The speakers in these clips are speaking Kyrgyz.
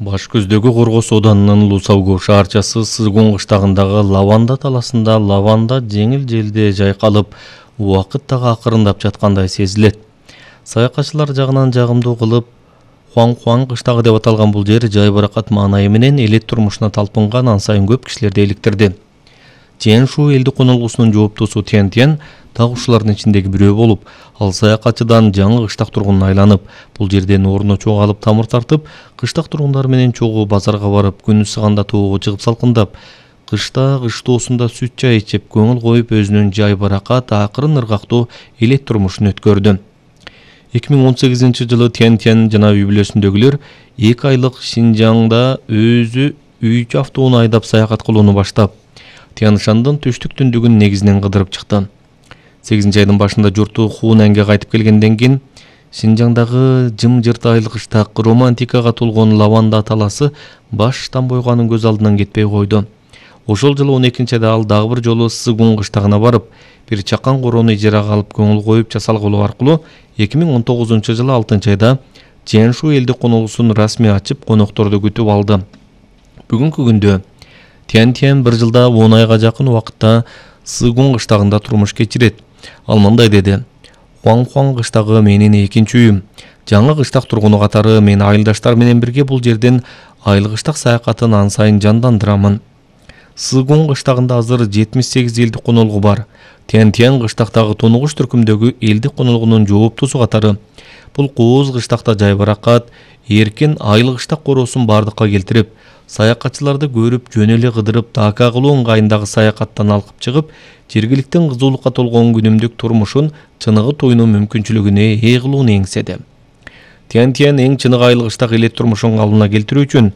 Баш көздөгү Коргос Оданынын Лусаугу шаарчасы Сызгун кыштагындагы лаванда таласында лаванда жеңил желде жайкалып, убакыт дагы акырындап жаткандай сезилет. Саякатчылар жагынан жагымдуу кылып, Хуан кыштагы деп аталган бул жер жай баракат маанайы менен элет турмушуна талпынган ансайын көп кишилерди иликтирди. Чен-Шу элди конолгусунун жооптусу Тен так ушулардын ичиндеги бирөө болуп, ал саякатчыдан жаңы кыштак тургунун айланып, бул жерден орно чогалып тамыр тартып, кыштак тургундар менен чогуу базарга барып, күн ысыганда тоого чыгып салкындап, кышта кыштоосунда сүт чай ичип, көңүл коюп өзүнүн жай баракат, акырын ыргактуу элет турмушун өткөрдү. 2018-жылы Тен жана үй бүлөсүндөгүлөр 2 айлык Шинжаңда өзү үйчү автоунаа айдап саякат кылууну баштап, Тяншандын түштүк түндүгүн негизинен кыдырып чыкты. 8-айдын башында журту Хунанга кайтып келгенден кийин Шинжаңдагы жым-жырт айлык кыштак романтикага толгон лаванда таласы баштан бойганын көз алдынан кетпей койду. Ошол жылы 12-айда ал дагы бир жолу Сызгун кыштагына барып, бир чакан короону ижарага алып көңүл коюп жасалгылоо аркылуу 2019-жылы 6-айда Чен-Шу элди конолгусун расмий ачып, конокторду күтүп алды. Бүгүнкү күндө Тен бир жылда 10 айга жакын убакытта Сызгун кыштагында турмуш кечирет. Ал мындай деди: Хуан кыштагы менин экинчи үйүм. Жаңы кыштак тургуну катары мен айылдаштар менен бирге бул жерден айыл кыштак саякатын ансайын жандандырамын. Сызгун кыштагында азыр 78 элди конолгу бар. Тен кыштактагы тонугуш түркүмдөгү элди конолгунун жооптусу катары. Бул кооз кыштакта жай баракат, эркин айыл кыштак короосун бардыкка келтирип, саякатчыларды көрүп, жөн эле кыдырып, дака кылуу ыңгайындагы саякаттан алкып чыгып, жергиликтин кызуулукка толгон күнүмдүк турмушун чыныгы туйнуу мүмкүнчүлүгүнө ээ кылууну эңседи. Тен эң чыныгы айыл кыштак элет турмушун калыбына келтирүү үчүн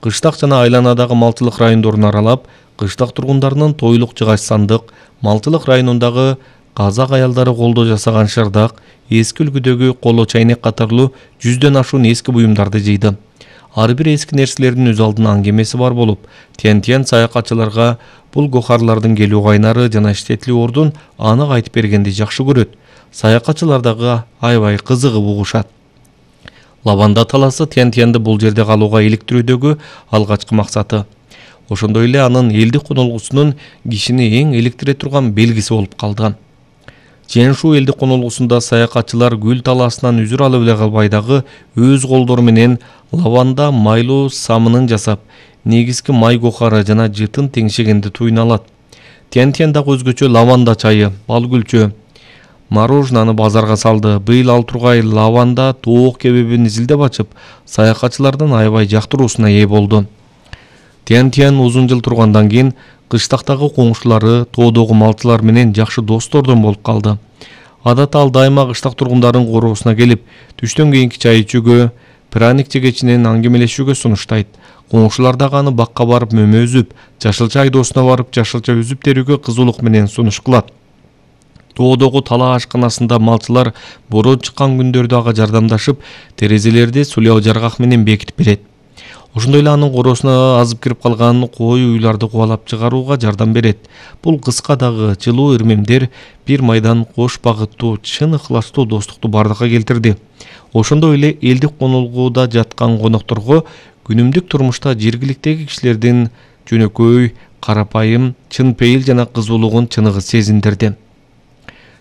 кыштак жана айланадагы малчылык райондорун аралап, кыштак тургундарынын тойлук жыгач сандык, малчылык районундагы казак аялдары колдо жасаган шырдак, эски үлгүдөгү коло чайнек катарлуу 100дөн ашуун эски буюмдарды жыйды. Ар бир эски нерселердин өз алдына аңгемеси бар болуп, Тен саякатчыларга бул гохарлардын келүү кайнары жана иштетилүү ордун анык айтып бергенди жакшы көрөт. Саякатчылар дагы аябай кызыгып угушат. Лаванда таласы Тен бул жерде калууга иликтирүүдөгү алгачкы максаты. Ошондой эле анын элди конолгусунун кишини эң иликтире турган белгиси болуп калды. Чен-Шу элди конолгусунда саякатчылар гүл талаасынан үзүр алып эле калбай дагы өз колдору менен лаванда майлуу самынын жасап, негизги май гохары жана жытын теңшегенди туйуна алат. Тен дагы өзгөчө лаванда чайы, бал гүлчө, мороженаны базарга салды. Быйыл ал тургай лаванда тоок кебебин изилдеп ачып, саякатчылардын аябай жактыруусуна ээ болду. Тен узун жыл тургандан кийин кыштактагы коңшулары, тоодогу малчылар менен жакшы достордон болуп калды. Адатта ал дайыма кыштак тургундарын короосуна келип, түштөн кийинки чай ичүүгө, праник жегечинен аңгемелешүүгө сунуштайт. Коңшулар дагы аны бакка барып мөмө үзүп, жашылча айдоосуна барып жашылча үзүп терүүгө кызуулук менен сунуш кылат. Тоодогу талаа ашканасында малчылар борон чыккан күндөрдө ага жардамдашып, терезелерди сулуу жаргак менен бекитип берет. Ошондой эле анын короосуна азып кирип калган кой уйларды кубалап чыгарууга жардам берет. Бул кыска дагы жылуу ирмемдер бир майдан кош багыттуу, чын ыхластуу достукту бардыкка келтирди. Ошондой эле элди конолгууда жаткан конокторго күнүмдүк турмушта жергиликтеги кишилердин жөнөкөй, карапайым, чын пейил жана кызуулугун чыныгы сезиндирди.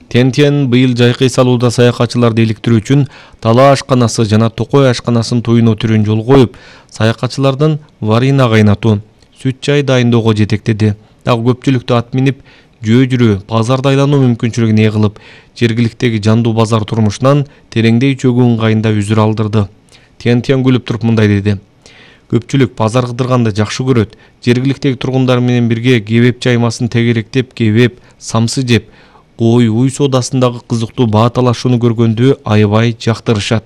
Тен быйыл жайкы салууда саякатчыларды иликтирүү үчүн талаа ашканасы жана токой ашканасын туйноо түрүн жол коюп, саякатчылардын варина кайнатуу, сүт чай дайындоого жетектеди. Дагы көпчүлүктү ат минип жөө жүрүү, базарда айлануу мүмкүнчүлүгүн ээ кылып, жергиликтеги жандуу базар турмушунан тереңдей чөгүү ыңгайында үзүр алдырды. Тен күлүп туруп мындай деди: Көпчүлүк базар кыдырганды жакшы көрөт. Жергиликтеги тургундар менен бирге кебеп чаймасын тегеректеп, кебеп, самсы жеп, ой соодасындагы кызыктуу баа талашууну көргөндү аябай жактырышат.